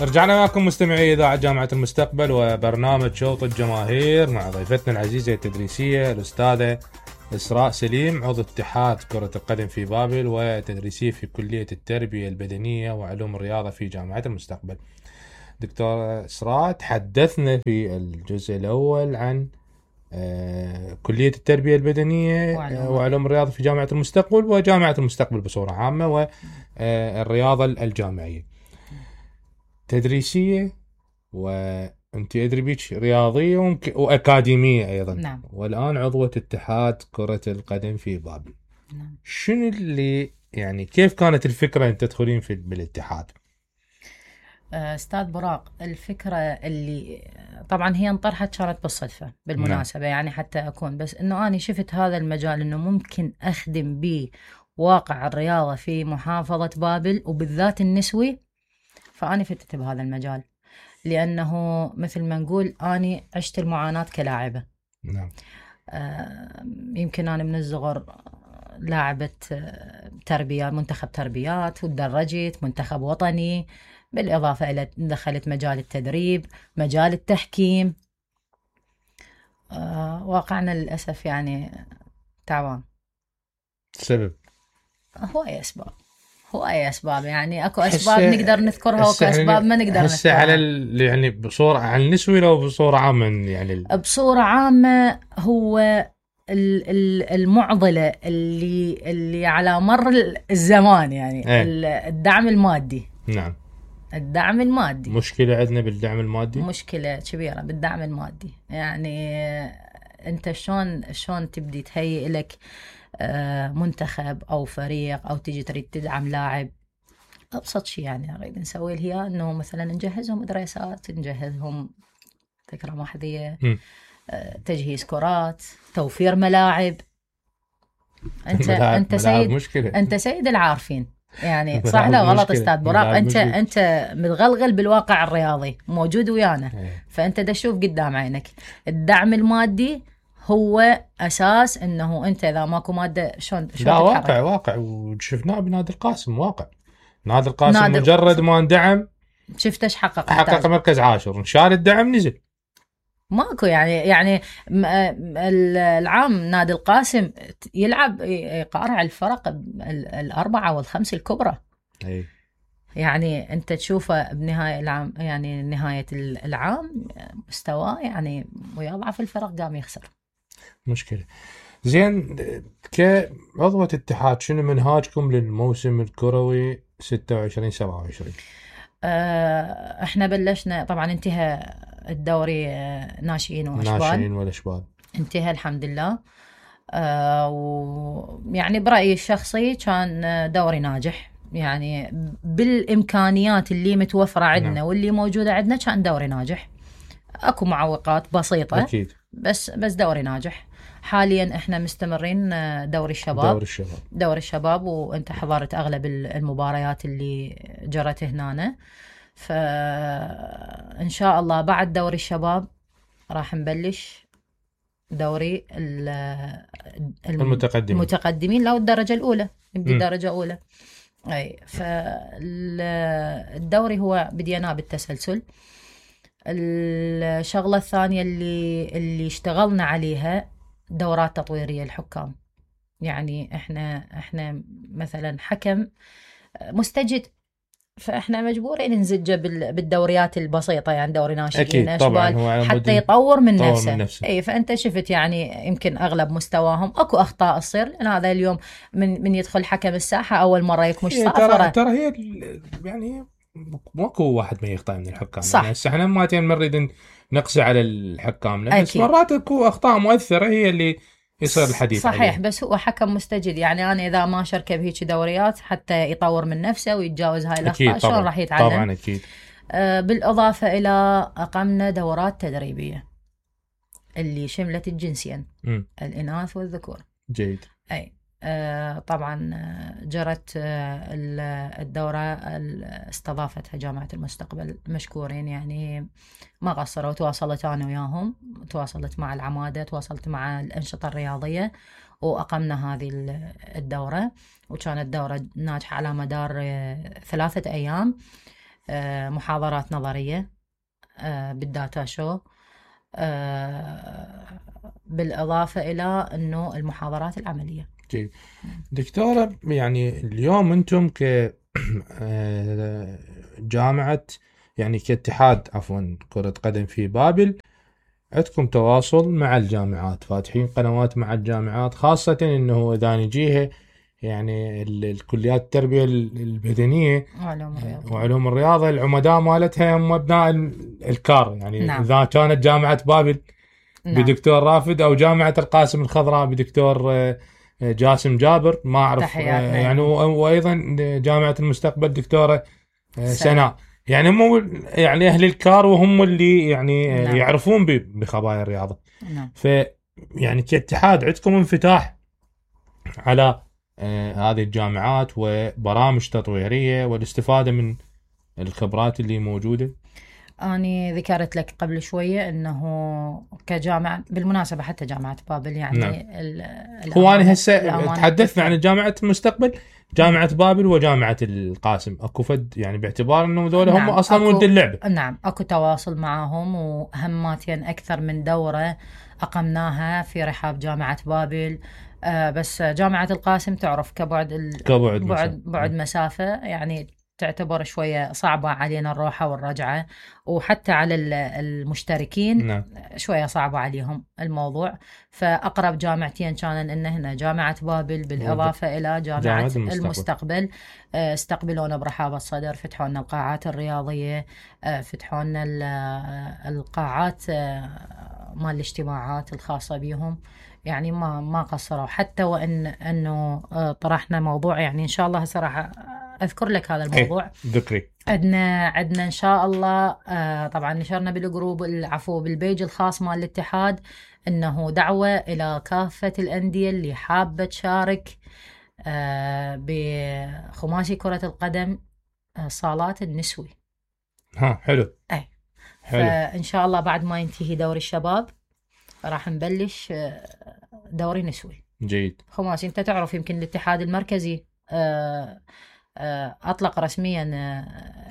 رجعنا معكم مستمعي إذاعة جامعة المستقبل وبرنامج شوط الجماهير مع ضيفتنا العزيزة التدريسية الأستاذة إسراء سليم، عضو اتحاد كرة القدم في بابل وتدريسية في كلية التربية البدنية وعلوم الرياضة في جامعة المستقبل. دكتورة إسراء، تحدثنا في الجزء الأول عن كلية التربية البدنية وعلوم الرياضة في جامعة المستقبل وجامعة المستقبل بصورة عامة والرياضة الجامعية تدريسية، وانت ادري بيك رياضية واكاديمية ايضا. نعم. والان عضوة اتحاد كرة القدم في بابل. نعم. شنو اللي يعني كيف كانت الفكرة ان تدخلين بالاتحاد؟ استاذ براق، الفكرة اللي طبعا هي انطرحت كانت بالصدفة بالمناسبة. نعم. يعني حتى اكون بس انه انا شفت هذا المجال انه ممكن اخدم به واقع الرياضة في محافظة بابل وبالذات النسوي، فأنا فتت بهذا المجال لأنه مثل ما نقول أنا عشت المعاناة كلاعبة. نعم. يمكن أنا من الصغر لاعبة تربية، منتخب تربيات، ودرجت منتخب وطني، بالإضافة إلى دخلت مجال التدريب، مجال التحكيم. واقعنا للأسف يعني تعبان. سبب؟ هو أي أسباب يعني أكو أسباب نقدر نذكرها وأكو أسباب ما نقدر نذكرها. على يعني بصورة عن النسوي لو بصورة عامة يعني بصورة عامة هو المعضلة اللي على مر الزمان يعني الدعم المادي. نعم. الدعم المادي مشكلة عندنا بالدعم المادي، مشكلة كبيرة بالدعم المادي. يعني أنت شلون تبدي تهيئ لك منتخب أو فريق أو تيجي تريد تدعم لاعب؟ أبسط شيء يعني نريد نسوي هي إنه مثلا نجهزهم دراسات، نجهزهم تكرم أحذية، تجهيز كرات، توفير ملاعب. انت سيد مشكلة. انت سيد العارفين يعني. صح لا غلط استاذ براق؟ انت متغلغل بالواقع الرياضي، موجود ويانا. فانت دا تشوف قدام عينك الدعم المادي هو اساس انه انت اذا ماكو ماده شلون لا واقع وشفناه بنادي القاسم. واقع نادي القاسم مجرد ما اندعم شفت ايش حقق مركز عاشر، انشال الدعم نزل. ماكو يعني العام نادي القاسم يلعب يقارع الفرق الأربعة والخمس الكبرى. أي. يعني أنت تشوفه بنهاية العام، يعني نهاية العام مستواه يعني ويضعف الفرق قام يخسر. مشكلة. زين، كعضوة اتحاد شنو منهاجكم للموسم الكروي 26-27؟ احنا بلشنا طبعا، انتهى الدوري ناشئين والأشبال انتهى الحمد لله. ويعني برأيي الشخصي كان دوري ناجح، يعني بالإمكانيات اللي متوفرة عندنا. نعم. واللي موجودة عندنا كان دوري ناجح. أكو معوقات بسيطة أكيد، بس دوري ناجح. حاليا احنا مستمرين دوري الشباب وانت حضرت أغلب المباريات اللي جرت هنا. فإن شاء الله بعد دوري الشباب راح نبلش دوري المتقدمين لو الدرجة الأولى نبدي درجة أولى. أي فالدوري هو بديناه بالتسلسل. الشغلة الثانية اللي اشتغلنا عليها دورات تطويرية الحكام. يعني احنا مثلا حكم مستجد، فاحنا مجبورين ننزجه بالدوريات البسيطه، يعني دوري ناشئين اشبال حتى يطور من نفسه. اي فانت شفت يعني يمكن اغلب مستواهم اكو اخطاء تصير، لان هذا اليوم من يدخل حكم الساحه اول مره يكمش صافره. ترى هي يعني ماكو واحد ما يخطئ من الحكام. صح. يعني احنا ما نريد نقسي على الحكام، بس مرات اكو اخطاء مؤثره هي اللي يصير الحديث صحيح عليه. بس هو حكم مستجد، يعني أنا إذا ما شاركه بهيك دوريات حتى يطور من نفسه ويتجاوز هاي الأخطاء شلون راح يتعلم؟ طبعا أكيد. بالإضافة إلى أقمنا دورات تدريبية اللي شملت الجنسين الإناث والذكور. جيد. أي طبعا جرت الدورة استضافتها جامعة المستقبل، مشكورين يعني ما قصروا. تواصلت أنا وياهم، تواصلت مع العمادة، تواصلت مع الأنشطة الرياضية، وأقمنا هذه الدورة. وكانت دورة ناجحة على مدار 3 أيام. محاضرات نظرية بالداتا شو، بالإضافة إلى أنه المحاضرات العملية. جيد. دكتورة، يعني اليوم أنتم جامعة، يعني كاتحاد عفوا كرة قدم في بابل، عندكم تواصل مع الجامعات، فاتحين قنوات مع الجامعات، خاصة أنه إذا نجيها يعني الكليات التربية البدنية وعلوم الرياضة العمداء مالتها هم أبناء الكار، يعني نعم. إذا كانت جامعة بابل نعم. بدكتور رافد، أو جامعة القاسم الخضراء بدكتور جاسم جابر، ما أعرف يعني، وأيضا جامعة المستقبل دكتورة سناء، يعني هم يعني أهل الكار، وهم اللي يعني نعم. يعرفون بخبايا الرياضة نعم. يعني كاتحاد عندكم انفتاح على هذه الجامعات وبرامج تطويرية والاستفادة من الخبرات اللي موجودة. أنا ذكرت لك قبل شوية أنه كجامعة، بالمناسبة حتى جامعة بابل يعني نعم. هو أنا هسه تحدثنا عن جامعة المستقبل، جامعة بابل وجامعة القاسم، أكو فد يعني باعتبار أنه ذول نعم. هم أصلا ولد اللعبة. نعم أكو تواصل معهم، وهماتين أكثر من دورة أقمناها في رحاب جامعة بابل. بس جامعة القاسم تعرف بعد مسافة يعني تعتبر شوية صعبة علينا الروحة والرجعة، وحتى على المشتركين نعم. شوية صعبة عليهم الموضوع. فأقرب جامعتين كانن إن هنا جامعة بابل بالإضافة إلى جامعة المستقبل. استقبلونا برحاب الصدر، فتحوا لنا القاعات الرياضية، فتحوا لنا القاعات مال الاجتماعات الخاصة بهم، يعني ما قصروا حتى، وإن أنه طرحنا موضوع يعني إن شاء الله صراحة أذكر لك هذا الموضوع ذكري. عدنا إن شاء الله. طبعا نشرنا بالجروب بالبيج الخاص مال الاتحاد إنه دعوة إلى كافة الأندية اللي حابة تشارك بخماسي كرة القدم صالات النسوي. حلو. أي حلو. فإن شاء الله بعد ما ينتهي دوري الشباب راح نبلش دوري نسوي. جيد. خماسي. أنت تعرف يمكن الاتحاد المركزي أطلق رسميا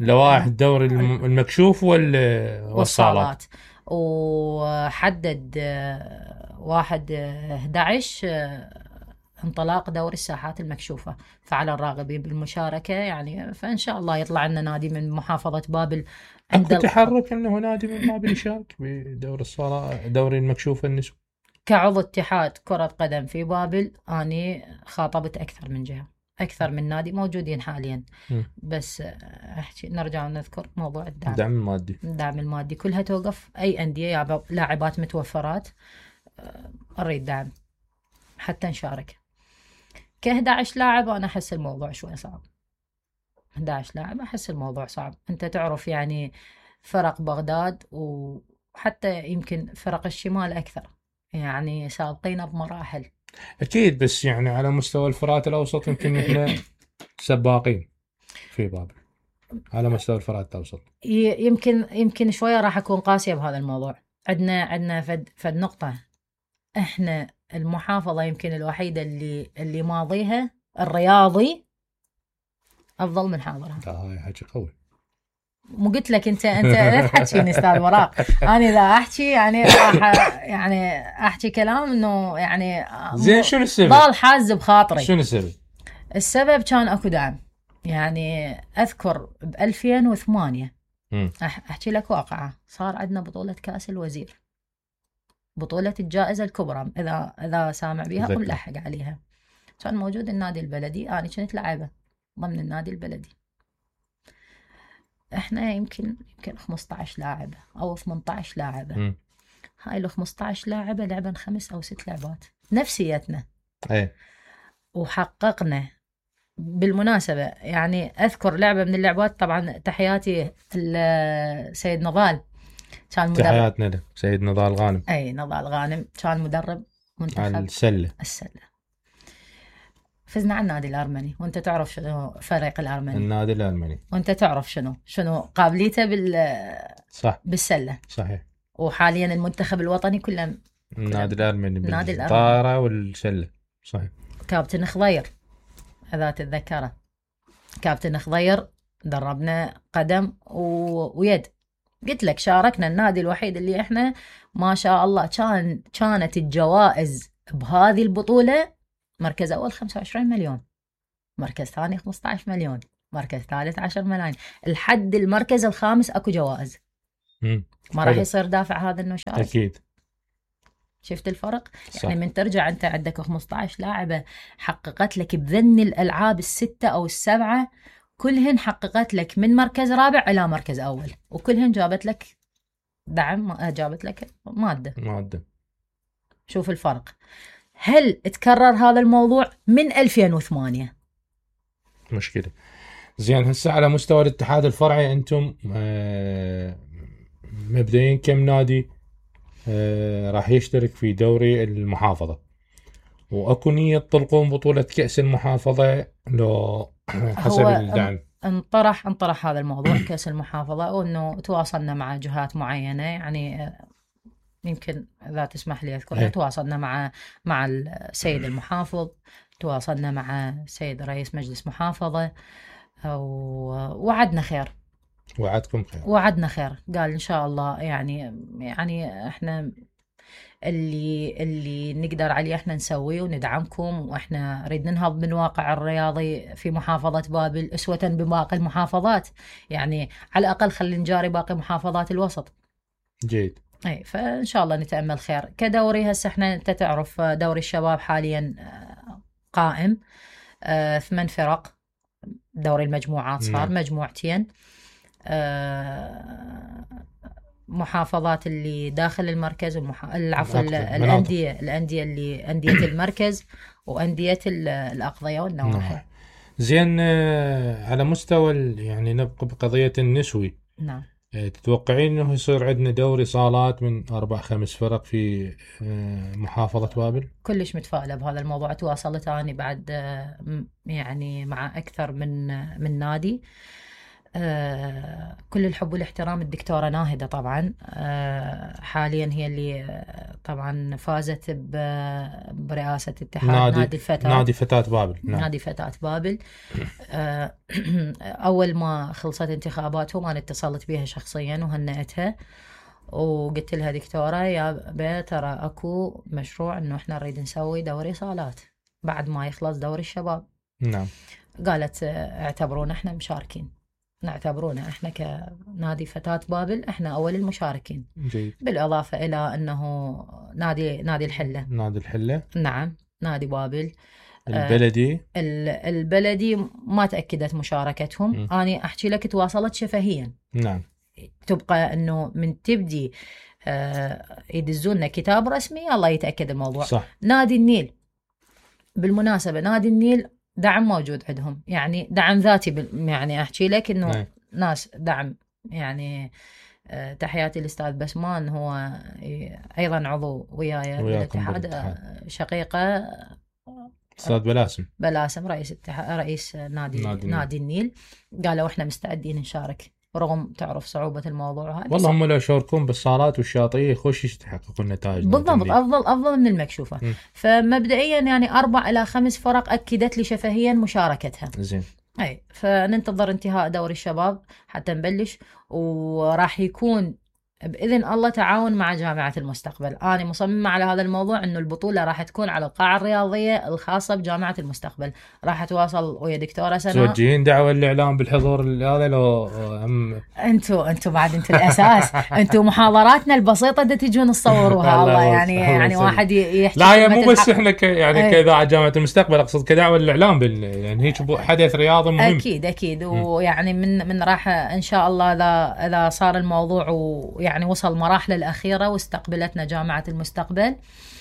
لوائح الدوري المكشوف والصالات، وحدد 1/11 انطلاق دوري الساحات المكشوفة. فعلى الراغبين بالمشاركة يعني، فإن شاء الله يطلع لنا نادي من محافظة بابل. عند تحرك أنه نادي من بابل يشارك بدور الصالات، دوري المكشوف النسوي. كعضو اتحاد كرة قدم في بابل أنا خاطبت أكثر من جهة، أكثر من نادي موجودين حاليا. بس نرجع ونذكر موضوع الدعم المادي كلها توقف. أي أندية لاعبات متوفرات أريد دعم حتى نشارك. ك11 لاعب أنا أحس الموضوع شوي صعب. 11 لاعب أحس الموضوع صعب. أنت تعرف يعني فرق بغداد وحتى يمكن فرق الشمال أكثر، يعني سابقين بمراحل. أكيد، بس يعني على مستوى الفرات الأوسط يمكن إحنا سباقين في بابل على مستوى الفرات الأوسط. يمكن شوية راح أكون قاسية بهذا الموضوع. عندنا فد نقطة، إحنا المحافظة يمكن الوحيدة اللي ماضيها الرياضي أفضل من حاضرها. هاي حكي قوي. مو قلت لك أنت لا تحكيني أستاذ وراق. أنا إذا أحكي يعني راح يعني أحكي كلام إنه يعني زين. شنو السبب؟ ضال حاز بخاطري. شنو السبب؟ السبب كان أكو دعم. يعني أذكر ب2008 أحكي لك واقعة، صار عندنا بطولة كأس الوزير، بطولة الجائزة الكبرى، إذا سامع بيها وملحق عليها. كان موجود النادي البلدي، أنا كنت لعبة ضمن النادي البلدي. إحنا يمكن 15 لاعبة أو 18 لاعبة. هاي ال 15 لاعبة لعبن 5 أو 6 لعبات نفسيتنا. وحققنا بالمناسبة يعني أذكر لعبة من اللعبات، طبعا تحياتي السيد نضال، كان مدرب. تحياتنا له سيد نضال غانم. أي نضال غانم كان مدرب منتخب السلة. فزنا على النادي الأرمني، وانت تعرف شنو فريق الأرمني. النادي الأرمني. وانت تعرف شنو قابليته صح. بالسلة. صحيح. وحاليا المنتخب الوطني كله النادي الأرمني بالطائرة والسلة. صحيح. كابتن خضير إذا تتذكره، كابتن خضير دربنا قدم ويد. قلت لك شاركنا النادي الوحيد اللي احنا ما شاء الله كانت الجوائز بهذه البطولة: مركز أول 25 مليون، مركز ثاني 15 مليون، مركز ثالث 10 ملايين، لحد المركز الخامس اكو جوائز. ما راح يصير دافع هذا انه شارك. اكيد. شفت الفرق؟ صح. يعني من ترجع انت عندك 15 لاعبة حققت لك بذن الالعاب الستة او السبعة، كلهن حققت لك من مركز رابع الى مركز اول، وكلهن جابت لك دعم، جابت لك مادة. شوف الفرق. هل تكرر هذا الموضوع؟ من 2008 مشكلة. زين، هسه على مستوى الاتحاد الفرعي انتم مبدئيا كم نادي راح يشترك في دوري المحافظة؟ واكو نية تطلقون بطولة كأس المحافظة لو حسب الدعم؟ انطرح هذا الموضوع كأس المحافظة، وانه تواصلنا مع جهات معينة، يعني يمكن اذا تسمح لي اذكر، تواصلنا مع السيد المحافظ، تواصلنا مع السيد رئيس مجلس محافظة، ووعدنا خير. وعدكم خير؟ وعدنا خير، قال ان شاء الله. يعني احنا اللي نقدر عليه احنا نسويه وندعمكم، واحنا نريد ننهض من الواقع الرياضي في محافظة بابل اسوة بباقي المحافظات، يعني على الاقل خلينا نجاري باقي محافظات الوسط. جيد. اي، فان شاء الله نتأمل خير. كدوري هسه احنا انت تعرف دوري الشباب حاليا قائم 8 فرق. دوري المجموعات صار مجموعتين. محافظات اللي داخل المركز، العفو، الأندية اللي أندية المركز وأندية الأقضية والنواحي. زين، على مستوى يعني نبقى بقضية النسوي. نعم. تتوقعين انه يصير عندنا دوري صالات من 4-5 فرق في محافظة بابل؟ كلش متفائلة بهذا الموضوع. تواصلت أنا بعد يعني مع أكثر من نادي. كل الحب والاحترام الدكتورة ناهدة طبعا، حاليا هي اللي طبعا فازت برئاسة اتحاد نادي فتاة بابل. نادي فتاة بابل. أول ما خلصت انتخاباتهم أنا اتصلت بها شخصيا وهنأتها، وقلت لها دكتورة يا ترى أكو مشروع إنه إحنا نريد نسوي دوري صالات بعد ما يخلص دوري الشباب. نعم. قالت اعتبرونا إحنا مشاركين، نعتبرونا إحنا كنادي فتاة بابل إحنا أول المشاركين. جيد. بالإضافة إلى أنه نادي الحلة. نادي الحلة. نعم. نادي بابل. البلدي ما تأكدت مشاركتهم. أنا أحكي لك تواصلت شفهيا. نعم. تبقى أنه من تبدي يدزونا كتاب رسمي الله يتأكد الموضوع. صح. نادي النيل بالمناسبة، نادي النيل دعم موجود عندهم، يعني دعم ذاتي. يعني أحكي لك إنه ناس دعم، يعني تحياتي للأستاذ بسمان، هو أيضا عضو وياي بالاتحاد، شقيقة أستاذ بلاسم رئيس نادي النيل. قالوا إحنا مستعدين نشارك رغم تعرف صعوبة الموضوع هذا. والله هم لو يشاركون بالصالات والشاطئية يخش يتحققون النتائج بالضبط، أفضل من المكشوفة. فمبدئيا يعني 4 إلى 5 فرق أكدت لي شفهيا مشاركتها. زين. أي، فننتظر انتهاء دوري الشباب حتى نبلش، وراح يكون بإذن الله تعاون مع جامعة المستقبل. أنا مصممة على هذا الموضوع إنه البطولة راح تكون على القاعة الرياضية الخاصة بجامعة المستقبل. راح أتواصل ويا دكتورة سناء. توجهين دعوة للإعلام بالحضور هذا لو أنتوا بعد أنتوا الأساس. أنتوا محاضراتنا البسيطة دا تجون تصوروها. الله يعني واحد يحكي. لا هي مو بس إحنا كإذاعة جامعة المستقبل، أقصد كدعوة للإعلام يعني هيك حدث رياضي مهم. أكيد. ويعني من راح إن شاء الله إذا صار الموضوع يعني وصل مراحل الأخيرة واستقبلتنا جامعة المستقبل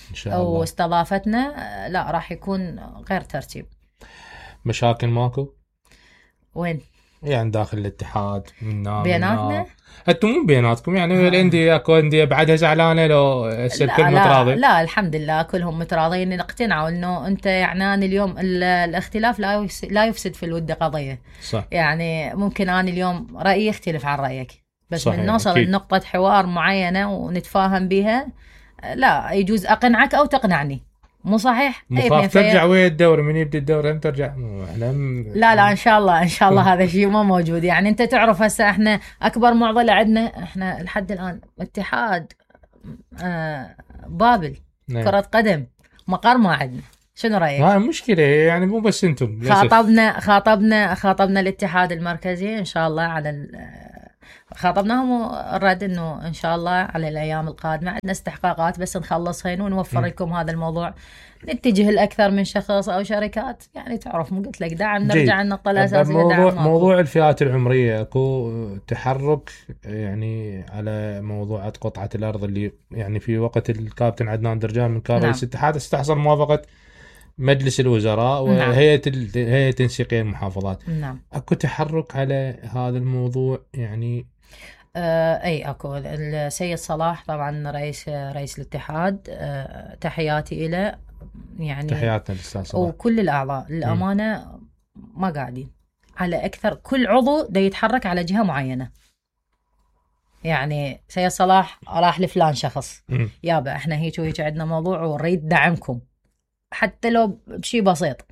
إن شاء الله واستضافتنا، لا راح يكون غير ترتيب. مشاكل ماكو؟ وين؟ يعني داخل الاتحاد بيناتنا؟ انتم مو بيناتكم يعني الأندية اكو أندية بعدها زعلانة لو الكل متراضي؟ لا الحمد لله كلهم متراضين، اقتنعوا انه انت يعني أنا اليوم الاختلاف لا يفسد في الود قضية. صح. يعني ممكن أنا اليوم رأيي يختلف عن رأيك، بس صحيح. من نوصل لنقطة حوار معينة ونتفاهم بها، لا يجوز أقنعك أو تقنعني، مو صحيح؟ مخاف ترجع ويا الدوري، من يبدي الدوري هم ترجع. احنا لا ان شاء الله ان شاء الله هذا الشيء ما موجود. يعني انت تعرف هسه احنا اكبر معضله عندنا احنا لحد الان اتحاد بابل كره قدم مقر ما عندنا. شنو رايك؟ هاي مشكله يعني، مو بس انتم. خاطبنا الاتحاد المركزي ان شاء الله على خاطبناهم الرد انه ان شاء الله على الايام القادمه عندنا استحقاقات بس نخلصهن ونوفر لكم هذا الموضوع. نتجه لاكثر من شخص او شركات، يعني تعرف مو قلت لك دعم نرجع النقطه الاساسيه. موضوع الفئات العمريه اكو تحرك يعني على موضوع قطعه الارض اللي يعني في وقت الكابتن عدنان درجان من كان رئيس الاتحاد استحصل موافقه مجلس الوزراء وهيئه تنسيقيه المحافظات. نعم. اكو تحرك على هذا الموضوع يعني. اي اكو السيد صلاح طبعا رئيس الاتحاد، تحياتي له يعني. تحياتنا للاستاذ صلاح وكل الاعضاء للامانه ما قاعدين على اكثر. كل عضو دا يتحرك على جهه معينه. يعني سيد صلاح راح لفلان شخص، يابا احنا هيك وهيك عندنا موضوع ونريد دعمكم حتى لو بشي بسيط.